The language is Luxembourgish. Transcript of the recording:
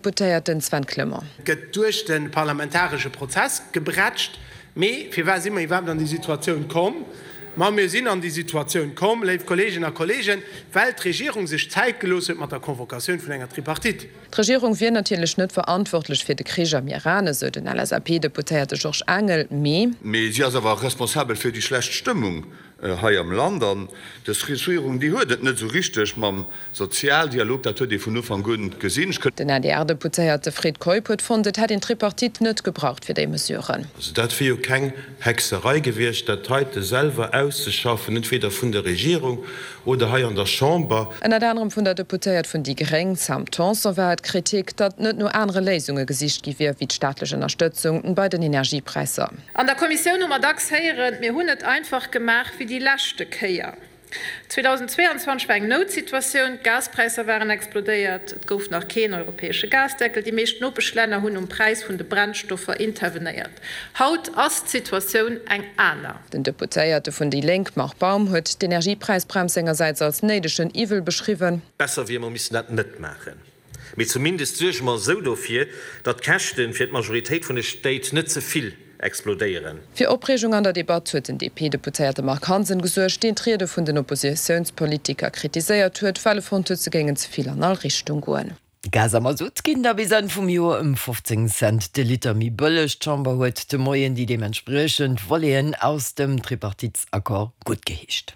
Deputéierten Sven Clement. Gëtt duerch de parlamentaresche Prozess gebrätscht. Mee firwat si mer iwwerhaapt an déi Situatioun komm? Ma mir sinn an déi Situatioun komm, léif Kolleeginnen a Kolleegen, well d'Regierung sech Zäit gelooss huet mat der Convocatioun vun enger Tripartite. D'Regierung wier natierlech net verantwortlech fir de Krich am Iran, esou den LSAP-Deputéierte Georges Engel, mee. Mee si ass awer responsabel fir déi schlecht Stëmmung hei am Land. An dës Regierung, déi huet et net esou richteg mam Sozialdialog, dat huet ee vun Ufank un gesinn. Ech. Den ADR-Deputéierte Fred Keup huet fonnt, et hätt een d'Tripartite net gebraucht fir déi Mesuren. Also dat wier jo keng Hexerei gewiescht, dat heite selwer auszeschaffen, entweder vun der Regierung oder hei an der Chamber. Ënnert anerem vun der Deputéiert vun déi Gréng, Sam Tanson, war et d'Kritik, datt net no anere Léisunge gesicht gi wier, wéi d'staatlech Ënnerstëtzung bei den Energiepräisser. An der Kommissioun hu mer dacks héieren, mir hunn et einfach gemaach wéi déi leschte Kéier. 2022 war eng Noutsituatioun, d'Gaspräisser waren explodéiert, et gouf nach keen europäesche Gasdeckel, déi meescht Nopeschlänner hunn um Präis vun de Brennstoffer intervenéiert. Haut ass d'Situatioun eng aner. Den Deputéierte vun déi Lénk Marc Baum huet d'Energiepräisbrems sengersäits als néidegen Iwwel beschriwwen. Besser wier, mer missten dat net maachen. Mee zumindest suerge mer esou dofir, datt d'Käschte fir d'Majoritéit vun de Stéit net ze vill explodéieren. Fir Opreegung an der Debatt huet den DP-Deputéierte Marc Hansen gesuergt, deen d'Riede vun den Oppositiounspolitiker kritiséiert huet, well e fonnt huet, se géingen ze vill an all Richtung goen. Gas a Masutt ginn da bis Enn vum Joer ëm 15 Cent de Liter méi bëlleg. D'Chamber huet de Moien déi deementspriechend Voleten aus dem Tripartitesaccord guttgeheescht.